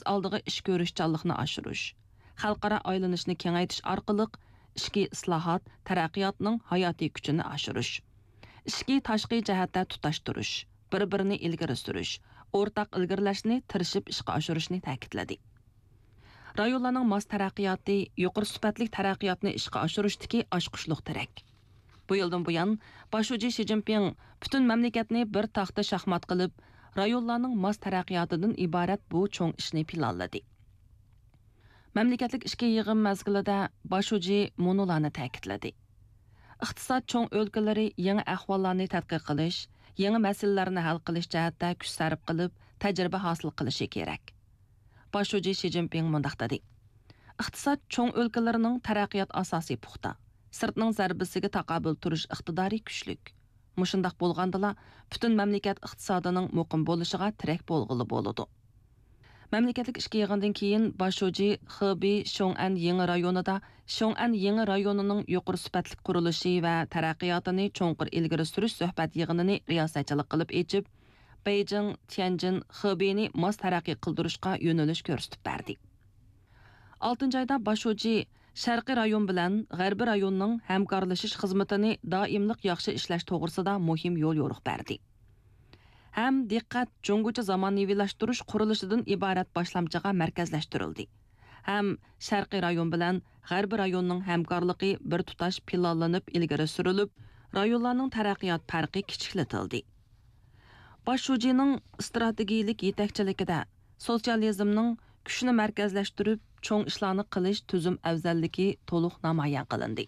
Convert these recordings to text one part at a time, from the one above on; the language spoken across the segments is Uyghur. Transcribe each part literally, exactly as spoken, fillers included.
سۈپىتى ئالدىغا ئىش كۆرۈشچانلىقنى ئاشۇرۇش، خەلقئارا ئايلىنىشنى كېڭەيتىش ئارقىلىق ئىچكى ئىسلاھات، تەرەققىياتنىڭ ھاياتىي كۈچىنى ئاشۇرۇش، ئىچكى، تاشقى جەھەتتە تۇتاشتۇرۇش، بىر-بىرىنى ئىلگىرى سۈرۈش، ئورتاق ئىلگىرىلەشنى تىرىشىپ ئىشقا ئاشۇرۇشنى تەكىتلىدى. رايونلارنىڭ ماس تەرەققىياتى، يۇقىرى سۈپەتلىك تەرەققىياتنى ئىشقا ئاشۇرۇشتىكى ئاچقۇچلۇق تىرەك. بۇ يىلدىن بۇيان، باش شۇجى شى جىنپىڭ پۈتۈن مەملىكەتنى بىر تاختا شاھمات قىلىپ، رايونلارنىڭ ماس تەرەققىياتىدىن ئىبارەت بۇ چوڭ ئىشنى پىلانلىدى. مەملىكەتلىك ئىچكى يىغىن مەزگىلىدە باش شۇجى مۇنۇلارنى تەكىتلىدى: ئىقتىساد چوڭ ئۆلكىلىرى يېڭى ئەھۋاللارنى تەتقىق قىلىش، يېڭى مەسىلىلەرنى ھەل قىلىش جەھەتتە كۈچ سەرپ قىلىپ، تەجرىبە ھاسىل قىلىشى كېرەك. باش شۇجى شى جىنپىڭ مۇنداق دېدى: ئىقتىساد چوڭ ئۆلكىلىرىنىڭ تەرەققىيات ئاساسى پۇختا، سىرتنىڭ زەربىسىگە تاقابىل تۇرۇش ئىقتىدارى كۈچلۈك. مۇشۇنداق بولغاندىلا، پۈتۈن مەملىكەت ئىقتىسادىنىڭ مۇقىم بولۇشىغا تىرەك بولغىلى بولىدۇ. مەملىكەتلىك ئىچكى يىغىندىن كېيىن، باش شۇجى خېبېي شيوڭئەن يېڭى رايونىدا شيوڭئەن يېڭى رايونىنىڭ يۇقىرى سۈپەتلىك قۇرۇلۇشى ۋە تەرەققىياتىنى چوڭقۇر ئىلگىرى سۈرۈش سۆھبەت يىغىنىنى رىياسەتچىلىك قىلىپ ئېچىپ، بېيجىڭ، تيەنجىن، خېبېينى ماس تەرەققىي قىلدۇرۇشقا يۆنىلىش كۆرسىتىپ بەردى. ئالتىنچى ئايدا باش شۇجى شەرقىي رايون بىلەن غەربىي رايوننىڭ ھەمكارلىشىش خىزمىتىنى دائىملىق ياخشى ئىشلەش توغرىسىدا مۇھىم يوليورۇق بەردى. ھەم دىققەت جۇڭگوچە زامانىۋىلاشتۇرۇش قۇرۇلۇشىدىن ئىبارەت باشلامچىغا مەركەزلەشتۈرۈلدى. ھەم شەرقىي رايون بىلەن غەربىي رايوننىڭ ھەمكارلىقى بىر تۇتاش پىلانلىنىپ ئىلگىرى سۈرۈلۈپ، رايونلارنىڭ تەرەققىيات پەرقى كىچىكلىتىلدى. باش شۇجىنىڭ ئىستراتېگىيىلىك يېتەكچىلىكىدە سوتسىيالىزمنىڭ كۈچنى مەركەزلەشتۈرۈپ، چوڭ ئىشلارنى قىلىش تۈزۈم ئەۋزەللىكى تولۇق نامايان قىلىندى.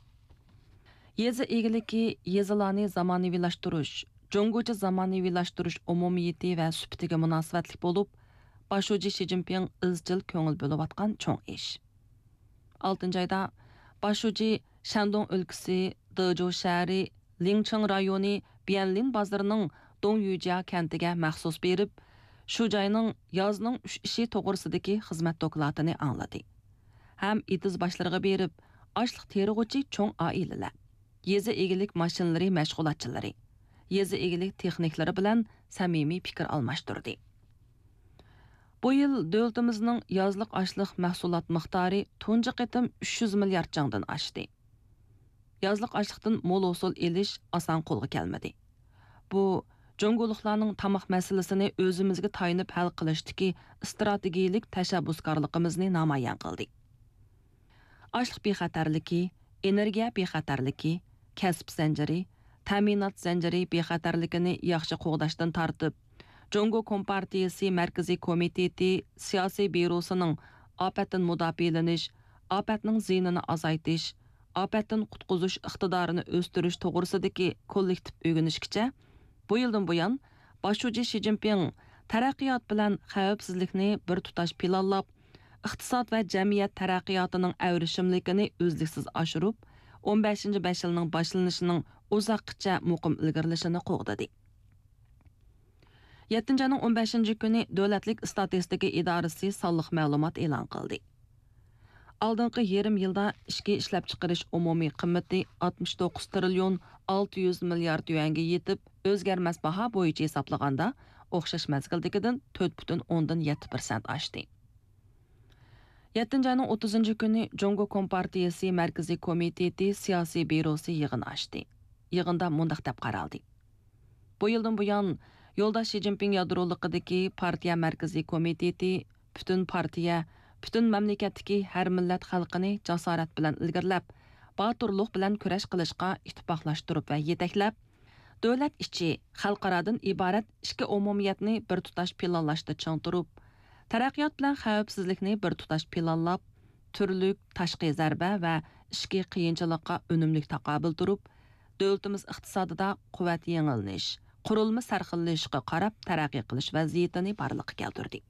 يېزا ئىگىلىكى، يېزىلارنى زامانىۋىلاشتۇرۇش، جۇڭگوچە زامانىۋىلاشتۇرۇش ئومۇمىيىتى ۋە سۈپىتىگە مۇناسىۋەتلىك بولۇپ، باش شۇجى شى جىنپىڭ ئىزچىل كۆڭۈل بۆلۈۋاتقان چوڭ ئىش. ئالتىنچى ئايدا باش شۇجى شەندۇڭ ئۆلكىسى دېجۇ شەھىرى لىڭچىڭ رايونى بيەنلىن بازىرىنىڭ دۇڭيۈجيا كەنتىگە مەخسۇس بېرىپ، شۇ جاينىڭ يازنىڭ ئۈچ ئىشى توغرىسىدىكى خىزمەت دوكلاتىنى ئاڭلىدى ھەم ئېتىز باشلىرىغا بېرىپ، ئاشلىق تېرىغۇچى چوڭ ئائىلىلەر، يېزا ئىگىلىك ماشىنىلىرى مەشغۇلاتچىلىرى، يېزا ئىگىلىك تېخنىكلىرى بىلەن سەمىمىي پىكىر ئالماشتۇردى. بۇ يىل دۆلىتىمىزنىڭ يازلىق ئاشلىق مەھسۇلات مىقدارى تۇنجى قېتىم ئۈچ يۈز مىليارد چاڭدىن ئاشتى. يازلىق ئاشلىقتىن مول ھوسۇل ئېلىش ئاسان قولغا كەلمىدى. بۇ، جۇڭگولۇقلارنىڭ تاماق مەسىلىسىنى ئۆزىمىزگە تايىنىپ ھەل قىلىشتىكى ئىستراتېگىيىلىك تەشەببۇسكارلىقىمىزنى نامايان قىلدى. ئاشلىق بىخەتەرلىكى، ئېنېرگىيە بىخەتەرلىكى، كەسىپ زەنجىرى، تەمىنات زەنجىرى بىخەتەرلىكىنى ياخشى قوغداشتىن تارتىپ، جۇڭگو كومپارتىيىسى مەركىزىي كومىتېتى سىياسىي بيۇروسىنىڭ ئاپەتتىن مۇداپىئەلىنىش، ئاپەتنىڭ زىيىنىنى ئازايتىش، ئاپەتتىن قۇتقۇزۇش ئىقتىدارىنى ئۆستۈرۈش توغرىسىدىكى كوللېكتىپ ئۆگىنىشكىچە، بۇ يىلدىن بۇيان، باش شۇجى شى جىنپىڭ تەرەققىيات بىلەن خەۋپسىزلىكنى بىر تۇتاش پىلانلاپ، ئىقتىساد ۋە جەمئىيەت تەرەققىياتىنىڭ ئەۋرىشىملىكىنى ئۈزلۈكسىز ئاشۇرۇپ، ئون بەشىنچى بەش يىلنىڭ باشلىنىشىنىڭ ئۇزاققىچە مۇقىم ئىلگىرىلىشىنى قوغدىدى. يەتتىنچى ئاينىڭ ئون بەشىنچى كۈنى دۆلەتلىك ئىستاتىستىكا ئىدارىسى سانلىق مەلۇمات ئېلان قىلدى. ئالدىنقى يېرىم يىلدا ئىچكى ئىشلەپچىقىرىش ئومۇمىي قىممىتى ئاتمىش توققۇز تىرىليون ئالتە يۈز مىليارد يۈەنگە يېتىپ، ئۆزگەرمەس باھا بويىچە ھېسابلىغاندا، ئوخشاش مەزگىلدىكىدىن تۆت پۈتۈن ئوندىن يەتتە پىرسەنت ئاشتى. يەتتىنچى ئاينىڭ ئوتتۇزىنچى كۈنى جۇڭگو كومپارتىيىسى مەركىزىي كومىتېتى سىياسىي بيۇروسى يىغىن ئاچتى. يىغىندا مۇنداق دەپ قارالدى: بۇ يىلدىن بۇيان، يولداش شى جىنپىڭ يادرولۇقىدىكى پارتىيە مەركىزىي كومىتېتى پۈتۈن پارتىيە، پۈتۈن مەملىكەتتىكى ھەر مىللەت خەلقىنى جاسارەت بىلەن ئىلگىرىلەپ، باتۇرلۇق بىلەن كۈرەش قىلىشقا ئىتتىپاقلاشتۇرۇپ ۋە يېتەكلەپ، دۆلەت ئىچى، خەلقئارادىن ئىبارەت ئىككى ئومۇمىيەتنى بىر تۇتاش پىلانلاشتا چىڭ تۇرۇپ، تەرەققىيات بىلەن خەۋپسىزلىكنى بىر تۇتاش پىلانلاپ، تۈرلۈك تاشقى زەربە ۋە ئىچكى قىيىنچىلىققا ئۈنۈملۈك تاقابىل تۇرۇپ، دۆلىتىمىز ئىقتىسادىدا قۇۋۋەت يېڭىلىنىش، قۇرۇلما سەرخىللىشىشقا قاراپ تەرەققىي قىلىش ۋەزىيىتىنى بارلىققا كەلتۈردى.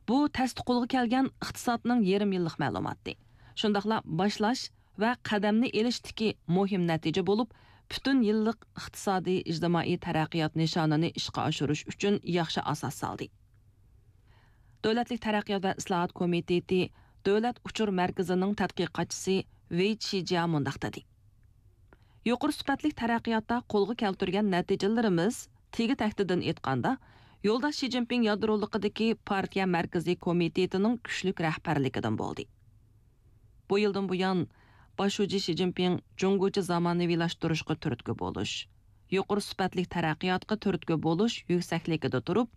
بۇ تەستە قولغا كەلگەن ئىقتىسادنىڭ يېرىم يىللىق مەلۇماتى، شۇنداقلا باشلاش ۋە قەدەمنى ئېلىشتىكى مۇھىم نەتىجە بولۇپ، پۈتۈن يىللىق ئىقتىسادىي، ئىجتىمائىي تەرەققىيات نىشانىنى ئىشقا ئاشۇرۇش ئۈچۈن ياخشى ئاساس سالدى. دۆلەتلىك تەرەققىيات ۋە ئىسلاھات كومىتېتى دۆلەت ئۇچۇر مەركىزىنىڭ تەتقىقاتچىسى ۋېي چىجيا مۇنداق دېدى: يۇقىرى سۈپەتلىك تەرەققىياتتا قولغا كەلتۈرگەن نەتىجىلىرىمىز، تېگى تەكتىدىن ئېيتقاندا، يولداش شى جىنپىڭ يادرولۇقىدىكى پارتىيە مەركىزىي كومىتېتىنىڭ كۈچلۈك رەھبەرلىكىدىن بولدى. بۇ يىلدىن بۇيان، باش شۇجى شى جىنپىڭ جۇڭگوچە زامانىۋىلاشتۇرۇشقا تۈرتكە بولۇش، يۇقىرى سۈپەتلىك تەرەققىياتقا تۈرتكە بولۇش يۈكسەكلىكىدە تۇرۇپ،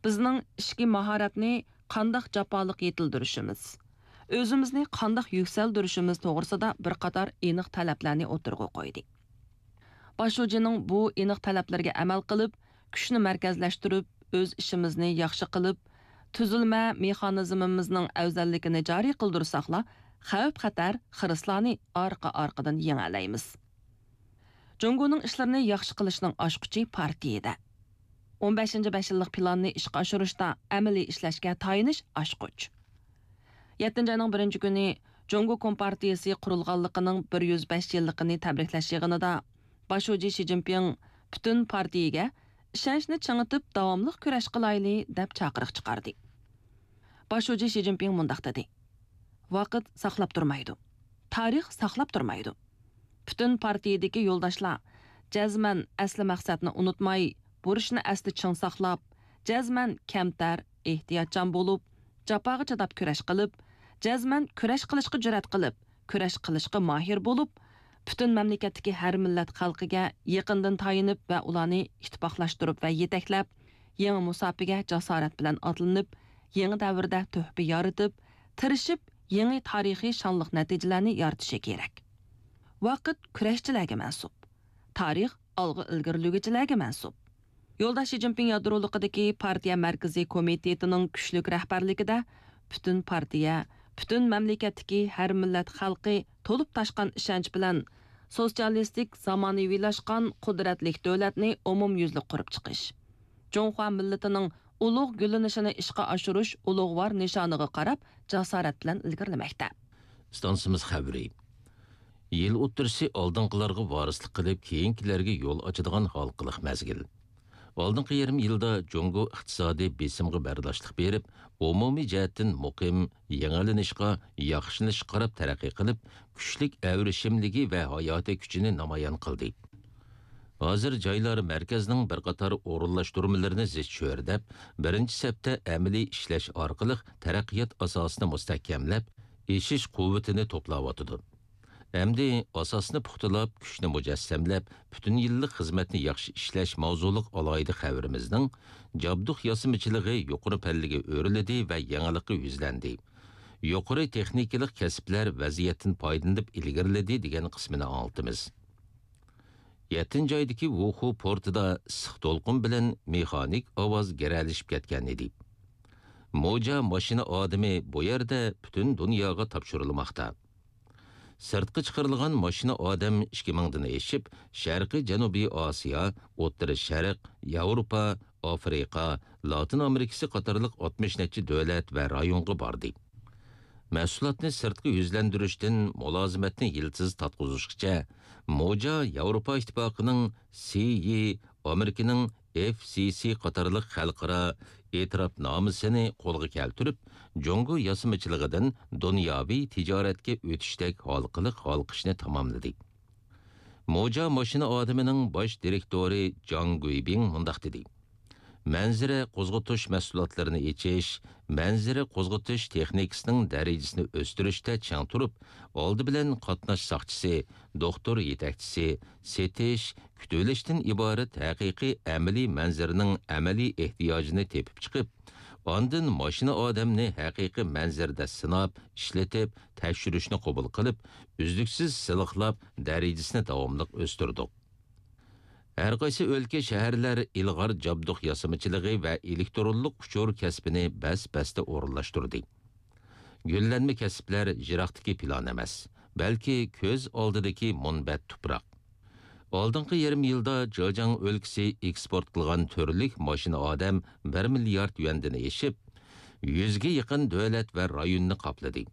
بىزنىڭ ئىچكى ماھارەتنى قانداق جاپالىق يېتىلدۈرۈشىمىز، ئۆزىمىزنى قانداق يۈكسەلدۈرۈشىمىز توغرىسىدا بىر قاتار ئېنىق تەلەپلەرنى ئوتتۇرىغا قويدى. باش شۇجىنىڭ بۇ ئېنىق تەلەپلىرىگە ئەمەل قىلىپ، كۈچنى مەركەزلەشتۈرۈپ، ئۆز ئىشىمىزنى ياخشى قىلىپ، تۈزۈلمە مېخانىزمىمىزنىڭ ئەۋزەللىكىنى جارى قىلدۇرساقلا، خەۋپ-خەتەر، خىرىسلارنى ئارقا-ئارقىدىن يېڭەلەيمىز. جۇڭگونىڭ ئىشلىرىنى ياخشى قىلىشنىڭ ئاچقۇچى پارتىيىدە. ئون بەشىنچى بەش يىللىق پىلاننى ئىشقا ئاشۇرۇشتا ئەمەلىي ئىشلەشكە تايىنىش ئاچقۇچ. يەتتىنچى ئاينىڭ بىرىنچى كۈنى جۇڭگو كومپارتىيىسى قۇرۇلغانلىقىنىڭ بىر يۈز بەش يىللىقىنى تەبرىكلەش يىغىنىدا باش شۇجى شى جىنپىڭ پۈتۈن پارتىيىگە ئىشەنچنى چىڭىتىپ، داۋاملىق كۈرەش قىلايلى، دەپ چاقىرىق چىقاردى. باش شۇجى شى جىنپىڭ مۇنداق دېدى: ۋاقىت ساقلاپ تۇرمايدۇ. تارىخ ساقلاپ تۇرمايدۇ. پۈتۈن پارتىيىدىكى يولداشلار جەزمەن ئەسلى مەقسەتنى ئۇنتۇماي، بۇرچنى ئەستە چىڭ ساقلاپ، جەزمەن كەمتەر، ئېھتىياتچان بولۇپ، جاپاغا چىداپ كۈرەش قىلىپ، جەزمەن كۈرەش قىلىشقا جۈرئەت قىلىپ، كۈرەش قىلىشقا ماھىر بولۇپ، پۈتۈن مەملىكەتتىكى ھەر مىللەت خەلقىگە يېقىندىن تايىنىپ ۋە ئۇلارنى ئىتتىپاقلاشتۇرۇپ ۋە يېتەكلەپ، يېڭى مۇساپىگە جاسارەت بىلەن ئاتلىنىپ، يېڭى دەۋردە تۆھپە يارىتىپ، تىرىشىپ، يېڭى تارىخىي شانلىق نەتىجىلەرنى يارىتىشى كېرەك. ۋاقىت كۈرەشچىلەرگە مەنسۇپ. تارىخ ئالغا ئىلگىرىلىگۈچىلەرگە مەنسۇپ. يولداش شى جىنپىڭ يادرولۇقىدىكى پارتىيە مەركىزىي كومىتېتىنىڭ كۈچلۈك رەھبەرلىكىدە پۈتۈن پارتىيە، پۈتۈن مەملىكەتتىكى ھەر مىللەت خەلقى تولۇپ تاشقان ئىشەنچ بىلەن سوتسىيالىستىك، زامانىۋىلاشقان، قۇدرەتلىك دۆلەتنى ئومۇميۈزلۈك قۇرۇپ چىقىش، جۇڭخۇا مىللىتىنىڭ ئۇلۇغ گۈللىنىشىنى ئىشقا ئاشۇرۇش ئۇلۇغۋار نىشانىغا قاراپ جاسارەت بىلەن ئىلگىرىلىمەكتە. ئىستانسىمىز خەۋىرى. يىل ئوتتۇرىسى ئالدىنقىلارغا ۋارىسلىق قىلىپ، كېيىنكىلەرگە يول ئاچىدىغان ھالقىلىق مەزگىل. ئالدىنقى يېرىم يىلدا جۇڭگو ئىقتىسادىي بېسىمغا بەرداشلىق بېرىپ، ئومۇمىي جەھەتتىن مۇقىم، يېڭىلىنىشقا، ياخشىلىنىشقا قاراپ تەرەققىي قىلىپ، كۈچلۈك ئەۋرىشىملىكى ۋە ھاياتىي كۈچىنى نامايان قىلدى. ھازىر جايلار مەركەزنىڭ بىر قاتار ئورۇنلاشتۇرمىلىرىنى زىچ چۆرىدەپ، بىرىنچى سەپتە ئەمەلىي ئىشلەش ئارقىلىق تەرەققىيات ئاساسىنى مۇستەھكەملەپ، ئېشىش قۇۋۋىتىنى توپلاۋاتىدۇ. ئەمدى ئاساسنى پۇختىلاپ، كۈچنى مۇجەسسەملەپ، پۈتۈن يىللىق خىزمەتنى ياخشى ئىشلەش ماۋزۇلۇق ئالاھىدە خەۋىرىمىزنىڭ جابدۇق ياسىمىچىلىقى يۇقىرى پەللىگە ئۆرلىدى ۋە يېڭىلىققا يۈزلەندى. يۇقىرى تېخنىكىلىق كەسىپلەر ۋەزىيەتتىن پايدىلىنىپ ئىلگىرىلىدى دېگەن قىسمىنى ئاڭلىتىمىز. يەتتىنچى ئايدىكى ۋۇخۇ پورتىدا ئىسسىق دولقۇن بىلەن مېخانىك ئاۋاز گىرەلىشىپ كەتكەن ئىدى. موجا ماشىنا ئادىمى بۇ يەردە پۈتۈن دۇنياغا تاپشۇرۇلماقتا. سىرتقا چىقىرىلغان ماشىنا ئادەم ئىككى مىڭدىن ئېشىپ، شەرقىي جەنۇبىي ئاسىيا، ئوتتۇرا شەرق، ياۋروپا، ئافرىقا، لاتىن ئامېرىكىسى قاتارلىق ئاتمىش نەچچە دۆلەت ۋە رايونغا باردى. مەھسۇلاتنى سىرتقا يۈزلەندۈرۈشتىن مۇلازىمەتنى يىلتىز تارتقۇزۇشقىچە، موجا ياۋروپا ئىتتىپاقىنىڭ سىي، ئامېرىكىنىڭ ئېف سىي سىي قاتارلىق خەلقئارا ئېتىراپنامىسىنى قولغا كەلتۈرۈپ، جۇڭگو ياسىمىچىلىقىدىن دۇنياۋى تىجارەتكە ئۆتۈشتەك ھالقىلىق ھالقىشنى تاماملىدى. موجا ماشىنا ئادىمىنىڭ باش دىرېكتورى جاڭ گۇيبىڭ مۇنداق دېدى: مەنزىرە قوزغىتىش مەھسۇلاتلىرىنى ئېچىش، مەنزىرە قوزغىتىش تېخنىكىسىنىڭ دەرىجىسىنى ئۆستۈرۈشتە چىڭ تۇرۇپ، ئالدى بىلەن قاتناش ساقچىسى، دوختۇر يېتەكچىسى، سېتىش، كۈتۈۋېلىشتىن ئىبارەت ھەقىقىي ئەمەلىي مەنزىرىنىڭ ئەمەلىي ئېھتىياجىنى تېپىپ چىقىپ، ئاندىن ماشىنا ئادەمنى ھەقىقىي مەنزىرىدە سىناپ، ئىشلىتىپ، تەكشۈرۈشنى قوبۇل قىلىپ، ئۈزلۈكسىز سىلىقلاپ، دەرىجىسىنى داۋاملىق ئۆستۈردۇق. ھەر قايسى ئۆلكە، شەھەرلەر ئىلغار جابدۇق ياسىمىچىلىقى ۋە ئېلېكترونلۇق ئۇچۇر كەسپىنى بەس-بەستە ئورۇنلاشتۇردى. گۈللەنمە كەسىپلەر يىراقتىكى پىلان ئەمەس، بەلكى كۆز ئالدىدىكى مۇنبەت تۇپراق. ئالدىنقى يېرىم يىلدا جېجياڭ ئۆلكىسى ئېكسپورت قىلغان تۈرلۈك ماشىنا ئادەم بىر مىليارد يۈەندىن ئېشىپ، يۈزگە يېقىن دۆلەت ۋە رايوننى قاپلىدى.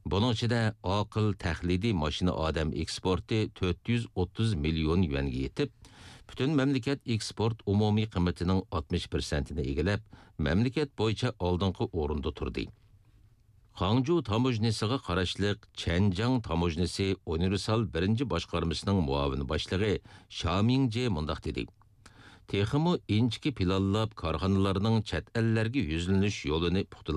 بۇنىڭ ئىچىدە ئاقىل تەقلىدىي ماشىنا ئادەم ئېكسپورتى تۆت يۈز ئوتتۇز مىليون يۈەنگە يېتىپ، پۈتۈن مەملىكەت ئېكسپورت ئومۇمىي قىممىتىنىڭ ئاتمىش پىرسەنتىنى ئىگىلەپ، مەملىكەت بويىچە ئالدىنقى ئورۇندا تۇردى. خاڭجۇ تاموژنىسىغا قاراشلىق چەنجياڭ تاموژنىسى ئۇنىۋېرسال بىرىنچى باشقارمىسىنىڭ مۇئاۋىن باشلىقى شا مىڭجې مۇنداق دېدى: تېخىمۇ ئىنچىكە پىلانلاپ، كارخانىلارنىڭ چەت ئەللەرگە يۈزلىنىش يولىنى پۇختا